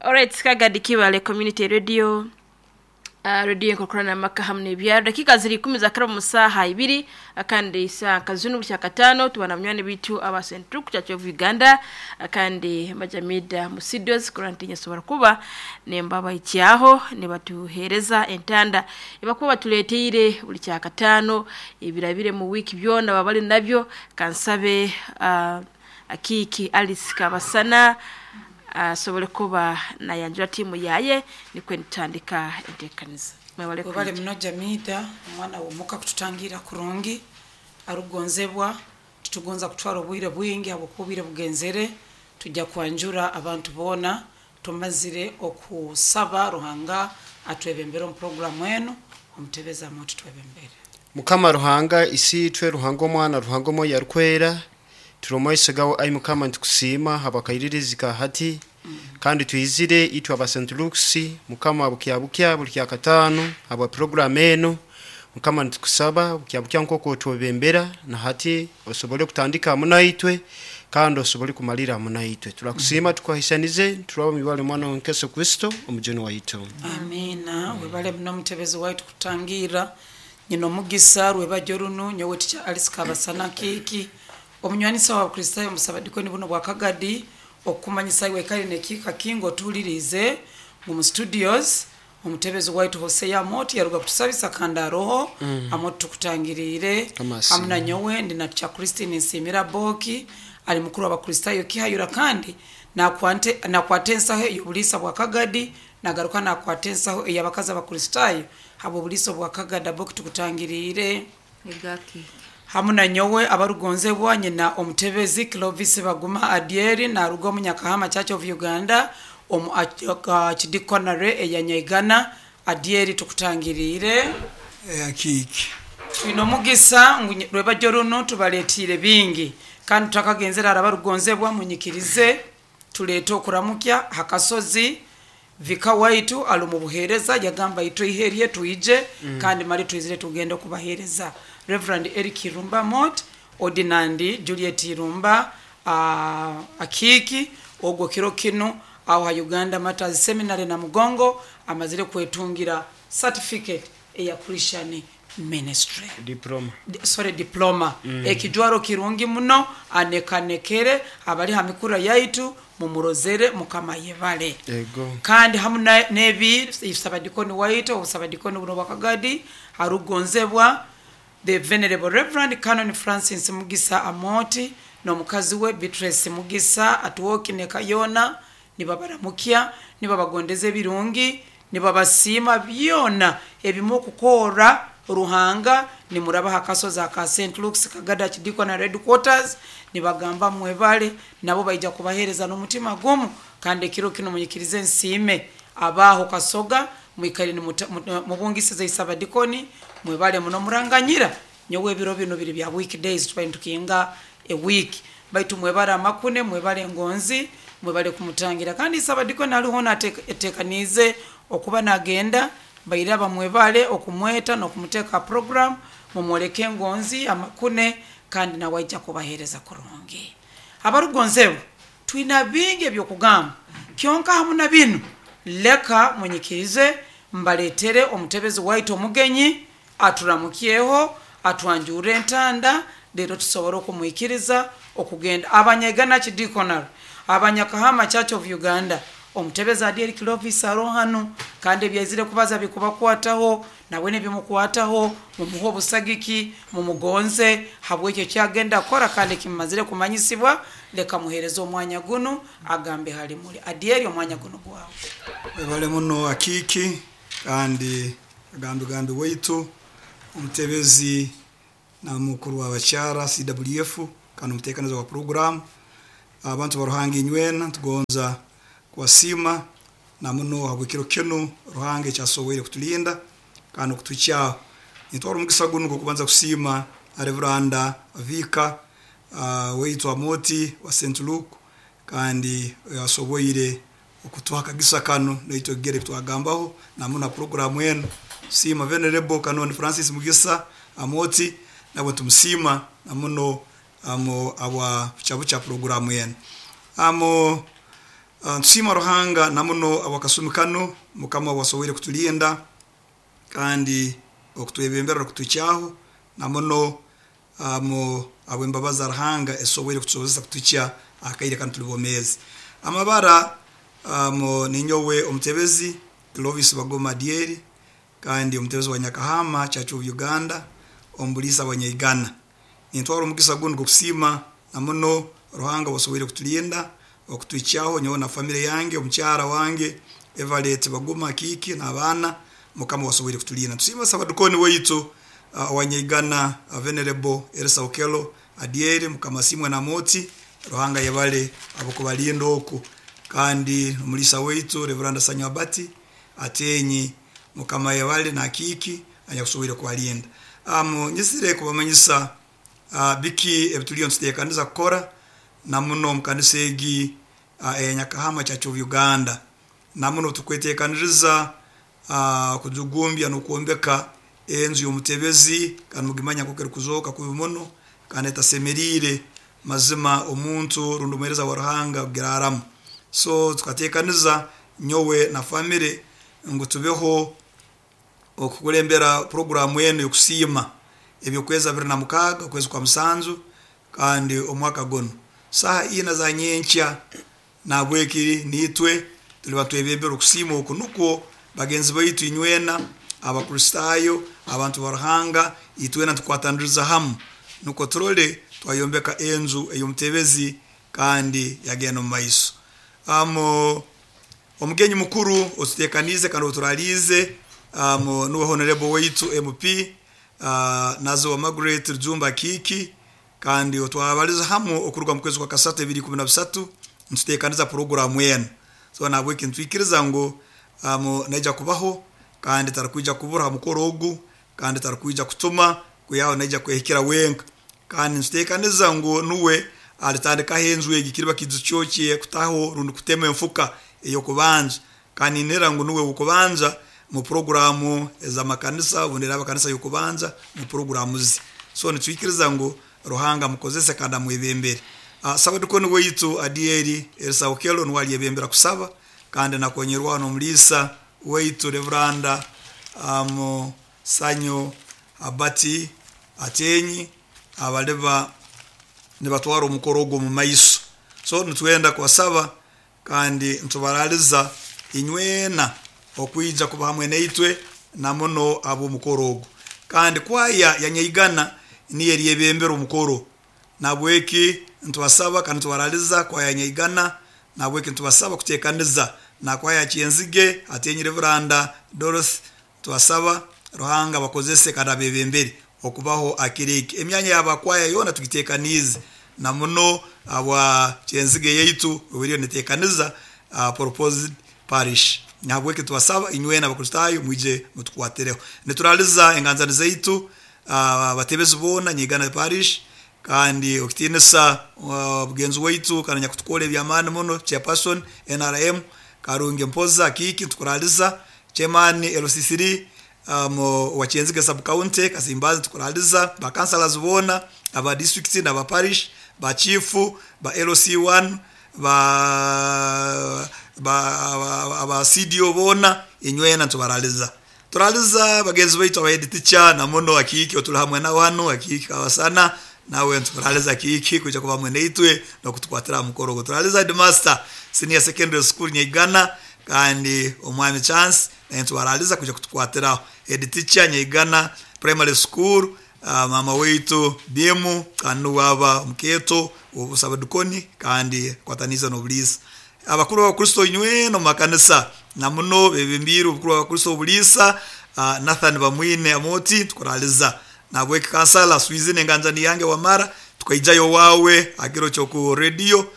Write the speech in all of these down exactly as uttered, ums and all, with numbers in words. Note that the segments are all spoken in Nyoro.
Alright, Kagadi Kibale Community Radio. Uh, radio enkokorana amaka hamwe n'ebyaro. Dakika ziri ikumi za karabu musaha ibiri akandi isa kazunu bukya katano tubana munywani bitu aba Central Church of Uganda akandi majamida musidios kurantinya sobora kuba nembaba ikyaho ne batuhereza entanda ibakuba batuleteire buli kya katano ebirabire mu wiki byona babali nabyo. Kansabe uh, akiki Alice Kabasana asobole uh, kuba nayanjura timu yaye nikwe nitandika entekaniza. Mwebale Webale muno Jamida, omwana womuka kututangira kurungi arugonzebwa tutugonza kutwara obwire bwingi habwokuba bugenzere tujja kwanjura abantu bona tumazire okusaba Ruhanga atwebembere omu programu eno omutebeza moto twebembere. Mukama Ruhanga isi twe Ruhanga omwana Ruhanga omo yarukwera turomoisegawo ai Mukama ntukusiima habakairirizika hati mm. Kandi tuizire itwa aba Saint Luke's Mukama bukya bukya buli kya katano aba program eno Mukama ntukusaba bukya bukya nkoko twebembera na hati osobole kutandika munaitwe kandi osobole kumalira munaitwe. Turakusiima mm. Tukwahisanize turaba mibale mwana wa Kristo omujeni waitu. Amina. Webale muno mutebezi waitu kutangira nyino mugisa rwebajorunu nyowe ticha Alice Kabasana kiki omunywanisa wa Kristayo musabadikoni buno bwa Kagadi okumanyisa iwe kali nekika kingo tulirize mu studios omutebezi waitu Hosea Moti yaruga kutusabisa kanda roho mm. Amoti tukutangirire amuna nyowe ndi na cha Christine Nsimira Boki ali mukuru wa Kristayo kihayura kandi na kwante na kwatensa he yobulisa bwa Kagadi nagaruka na kwatensa he yabakaza ba Kristayo habo bulisa bwa Kagada Boki tukutangirire egaki hamuna nyowe abarugonzebwa nyina omutebezi Clovis Baguma Adieri na rugo munyakahama Church of Uganda omu chidikonare eyanyaigana Adieri tukutangirire akiki twino mugisa rwebajoruno tubaletire bingi kandi tutakagenzera abarugonzebwa munyikirize tulete okuramukya hakasozi vika waitu alumu buhereza yagamba ito iherie tuije mm. Kandi mali tuizire tugende kubahereza Reverend Eric Irumba Mot, Ordinandi Juliet Irumba uh, akiki ogwo kiro kino aho ha Uganda Matters Seminary na Mugongo amazire kwetungira certificate eya Christian Ministry diploma. D sorry diploma mm. Ekijwaro kirungi muno anekanekere abali hamikura yaitu mumurozere mukama yebale. Ego. Kandi hamu nebi isabadikoni waitu obusabadikoni buno bwakagadi harugonzebwa The Venerable Reverend Canon Francis Mugisa Amoti n'omukazi we Beatrice Mugisa atuwoki ne Kayona nibabaramukia nibabagondeza ebirungi nibabasiima byona ebimu okukora Ruhanga nimuraba hakasoza aka Saint Luke's Kagada Chidikwa na Red Quarters nibagamba mwebale nabo baija kubahereza n'omutima gumu kandi ekiro kino munyikirize nsiime abaho kasoga mwikali mubungisize isabadikoni mwebale muno muranganyira nyowe ebiro bino biri bya weekdays tubaye tukinga a week baitu mwebale amakune mwebale ngonzi mwebale kumutangira kandi isabadikoni aliho natekanize okuba nagenda baira bamwebale okumweta nokumuteka program mumwoleke ngonzi amakune kandi nawaija kubahereza kurungi. Abarugonzebo twina bingi ebyokugamba kyonka hamuna bino leka munyikirize mbaletere omutebezi waitu omugenyi aturamukyeho atwanjure entanda lero tusobora okumwikiriza okugenda abanyegana chidikonal abanyakahama Church of Uganda omutebezi Adieri Clovis arohanu kandi ebyaizire kubaza bikubakwataho nawe nebimukwataho mumuho busagiki mumugonze habwekyo kyagenda kora kandi kimazire kumanyisibwa leka muhereza omwanya guno agambe hali muli Adieri omwanya guno gwawe. Webale muno akiki kandi agambe gambe waitu omutebezi na mukuru w'abakyara C W F kandi omuteekaniza wa program abantu baruhanga inywena tugonza kuwasima na muno habwekiro kino Ruhanga ekyasoboire kutulinda kandi okutukyaho nitwara omugisa guno gw'okubanza kusiima Reveranda Vika uh, waitu Amoti wa Saint Luke kandi yasoboire okutuha akagisa kano naitwe gere twagambaho namuno program eno. Sima Venerable Canon Francis Mugisa Amoti nabo tumusima namuno amo abwa chabu cha program eno amo Uh, ntusiima Ruhanga namuno abakasumi kano Mukama wasoboire kutulinda kandi okutwebembera okutukyaho namuno um, abwembabazi za Ruhanga esoboire kutusobozesa kutukya akaire kanu tuli bomezi. Amabara um, ninyowe omutebezi Clovis Bagoma Dieri kandi omutebezi wa Nyakahama Church of Uganda omulisa wa Nyaigana. Nintwara omugisa guno gokusiima namuno Ruhanga wasoboire kutulinda okutwikyaho nyowe na family yange, omukyara wange Everett Bagoma Kiki n'abaana, Mukama wasoboire kutulinda. Tusiima sabadukoni waitu uh, wa Nyaigana uh, Venerable Elsa Okelo Adieri, Mukama simwe na moti Ruhanga yebale abukubalinda oku, kandi omulisa waitu Reverend Sanyo Abati Atenyi, Mukama yebale na Kiki anyakusoboire kubalinda. Um, nyisire kubamanyisa uh, biki ebituliyo ntuteekaniza kukora namuno omukanisa egi uh, eya Nyakahama Church of Uganda. Namuno tukweteekaniriza uh, kujugumbya n'okwombeka enju y'omutebezi, kandi mugimanya nk'oku erikuzooka kubi muno kandi etasemeriire mazima omuntu rundi omuheereza wa Ruhanga kugiraramu. So tukateekaniza nyowe na family ngu tubeho okukulembera programu eno y'okusiima ebyokwezi abiri na mukaaga okwezi kwa musanju kandi omwaka guno saha ina za nyenkya. Nabwekiri nitwe tuli batwebembera okusiima oku nukwo bagenzi baitu inywena Abakristaayo abantu ba Ruhanga itwena tukwataniriza hamu nukwo turole twayombeka enju ey'omutebezi kandi yagenda omu maiso. Um, omugenyi mukuru otuteekaniize kandi oturaliize um, nuwe Honorable waitu M P uh, Nazo Margaret Rujumba Kiki, kandi otwabaliza hamu okuruga mu kwezi kwa kasatu ebiri ikumi na bisatu ntuteekaniza programu eno. So nabweki ntwikiriza ngu um, naija kubaho kandi tarakwija kubura ha mukoro ogu kandi tarakwija kutuma kuyaho naija kwehikira wenka, kandi ntuteekaniza ngu nuwe alitandikaho enju egi kiriba kijukyokye kutaho rundi kutema enfuka ey'okubanja, kandi nera ngu nuwe w'okubanja mu programu ez'amakanisa obundi abakanisa y'okubanja mu programu ze. So nitwikiriza ngu Ruhanga mukozese kandi amwebembere. Uh, sabadukoni waitu Adieri Elsa Okelo nuwe alyebembera kusaba kandi nakonyerwa n'omulisa waitu Reveranda um, Sanyo Abati Atenyi abaleba nibatwara omukoro ogwo mu maiso. So nitwenda kubasaba kandi ntubaraliza inywena okwija kuba hamwe naitwe namuno ab'omukoro ogwo. Kandi kwaya ya Nyaigana niyo eryebembera omukoro, nabweki ntubasaba kandi ntubaraliza kwaya ya Nyaigana, nabweki ntubasaba kuteekaniza na kwaya Kyenzige Atenyi Reveranda Dorothy, tubasaba Ruhanga bakozese kandi abebembere okubaho akiriki. Emyanya y'abakwaya yona tugitekanize na muno abwa Kyenzige yaitu obiriyo netekaniza uh, proposed parish. Nabweki tubasaba inywena Abakristaayo mwije mutukwatireho. Nituraliza enganzani zaitu abatebezi uh, boona Nyaigana parish, kandi okutinisa uh, bugenzi waitu kandi nyakutukora ebyamaani muno chairperson N R M Karungi Mpoza Kiki, tukuraliza chairman L C three um, wa Kyenzige sub county Kasimbazi, tukuraliza ba councillors boona aba district n'aba parish ba chief ba L C one ba ba aba C D O boona inywena tubaraliza. Turaliza bagenzi baitu aba head teacher na muno akiki otuli hamwe na wano akiki kabasana nawe ntukuraliza kiki kuja kuba hamwe naitwe no kutukwatira mukoro go. Turaliza headmaster senior secondary school Nyaigana kandi omwami Chance naye ntubaraliza kuja kutukwatira. Head teacher Nyaigana primary school uh, mama waitu Bimu kandi waba mketo obusabadukoni kandi kwataniza n'obulisa. Abakuru b'Abakristo inywe no makanisa na muno bebembiru obukuru b'Abakristo obulisa uh, Nathan Bamwine Amoti tukuraliza nabweki kansala Swizine nganjani yange wamara tukaijayo wawe akiro cyo radio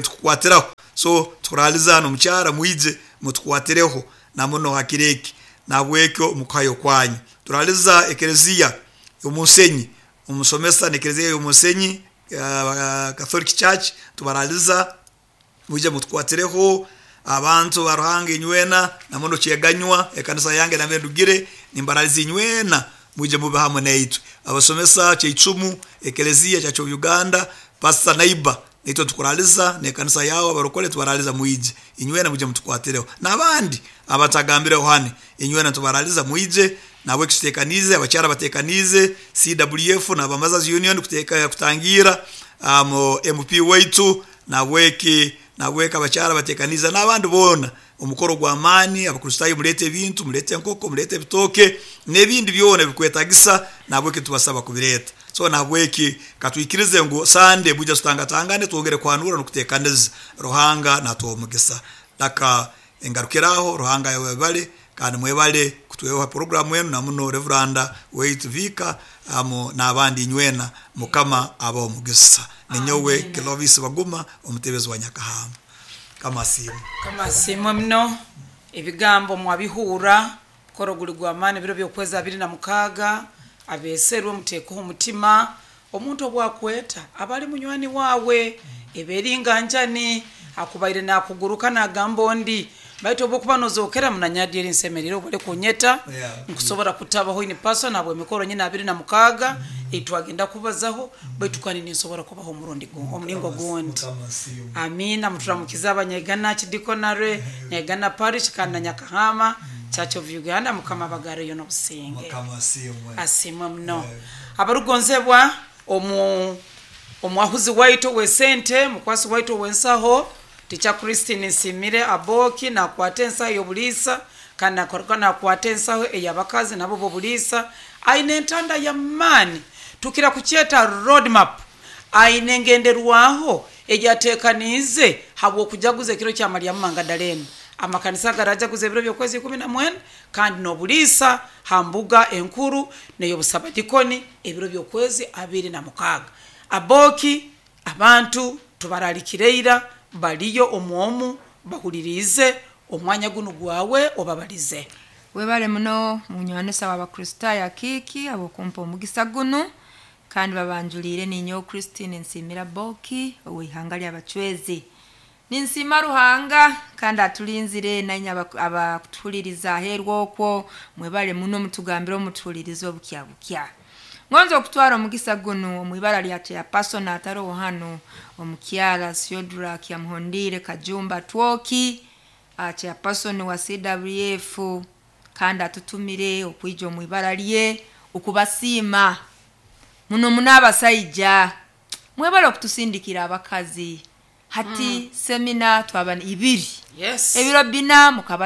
tukukwatiraho. So tukuraliza no mukyara mwije mutukwatireho na muno hakireki nabwekyo mukayo kwanyu. Turaliza ekereziya y'omusenyi omusomesa n'ekereziya y'omusenyi uh, Catholic Church tubaraliza mwije mutukwatireho. Abantu ba Ruhanga inywena na muno kyeganywa ekanisa yange nambe ndugire nimbaraliza inywena mwije mube hamwe naitwe. Abasomesa kyeicumu ekereziya Church of Uganda Pastor Naiba Naitwe tukuraliza nekanisa yawe abarokole tubaraliza mwije, inywena muje mutukwatireho, n'abandi abatagambireho hane inywena tubaraliza mwije. Nabwe tutekanize abakyara batekanize C W F n'abamazazi union kuteka kutangira um, M P waitu nabweki nabweka abakyara batekaniza n'abandi bona omukoro gwa amani. Abakristayo mulete ebintu, mulete enkoko, mulete ebitoke n'ebindi byona bikwetagisa, nabweki tubasaba kubireta. So nabweki katwikirize ngu Sunday buja tutangatangane twongere kwanura n'okutekaniza. Ruhanga natuwa omugisa. Daka engarukiraho Ruhanga yabale kandi mwebale kutwewa programu yenu na muno Reveranda Wait Vika amo n'abandi inywena mukama aba omugisa. Ninyowe Clovis Baguma omutebezi wa Nyakahama. Kama simu. Kama simu mno ebigambo mwabihura koro guli gwa amani biro byokweza abiri na mukaga abeserwe muteko omutima omuntu obwakweta abali munywani wawe eberinga njani akubaire nakuguruka nagamba ondi baitu obokuba nozokera munanyadi eri nsemerero obole kunyeta yeah. Nkusobora kutabaho in person abo emikoro nyina abiri na mukaga mm -hmm. Etwagenda kubazaho baitu kandi ninsobora kubaho omurundi omulingo gundi. Amina. Muturamukiza abanyegana kidikonare nyegana parish kana Nyakahama Church of Uganda mukama bagare yo nobusinge. Mukama asimwe. Asimwe mno. Abarugonzebwa omu omwahuzi waitu wesente mukwasi waitu wensaho Ticha Christine Nsimire Aboki na kwate ensaho y'obulisa kana korokana kwate ensaho ey'abakazi nabo b'obulisa aine entanda ya mani tukira kucheta roadmap aine ngenderwaho ejatekanize habwo kujaguza ekiro kya Mariamu Magdalene amakanisa garajaguza ebiro by'okwezi ikumi na mwenda kandi n'obulisa hambuga enkuru n'ey'obusabadikoni ebiro by'okwezi abiri na mukaga. Aboki abantu tubaralikireira baliyo omwomu bahulirize omwanya guno gwawe obabalize. Webale muno munywanisa w'Abakristayo akiki abokumpa omugisa guno kandi babanjulire ninyo Christine Nsimira Boki ow'ihanga ly'Abachwezi. Ninsima Ruhanga kandi atulinzire nanya abakutuhuliriza aherwa okwo mwebale muno mutugambire omutuhulirize obukya bukya. Ngonzo okutwara omugisa guno omwibara lya chairperson ataro hano omukyala Siodra Kyamuhondire Kajumba Twoki chairperson wa C W F kandi atutumire okwija omwibara lye okubasiima muno munabasayija mwebale okutusindikira abakazi hati mm. Semina twaba ibiri yes. Ebiro bina mukabasi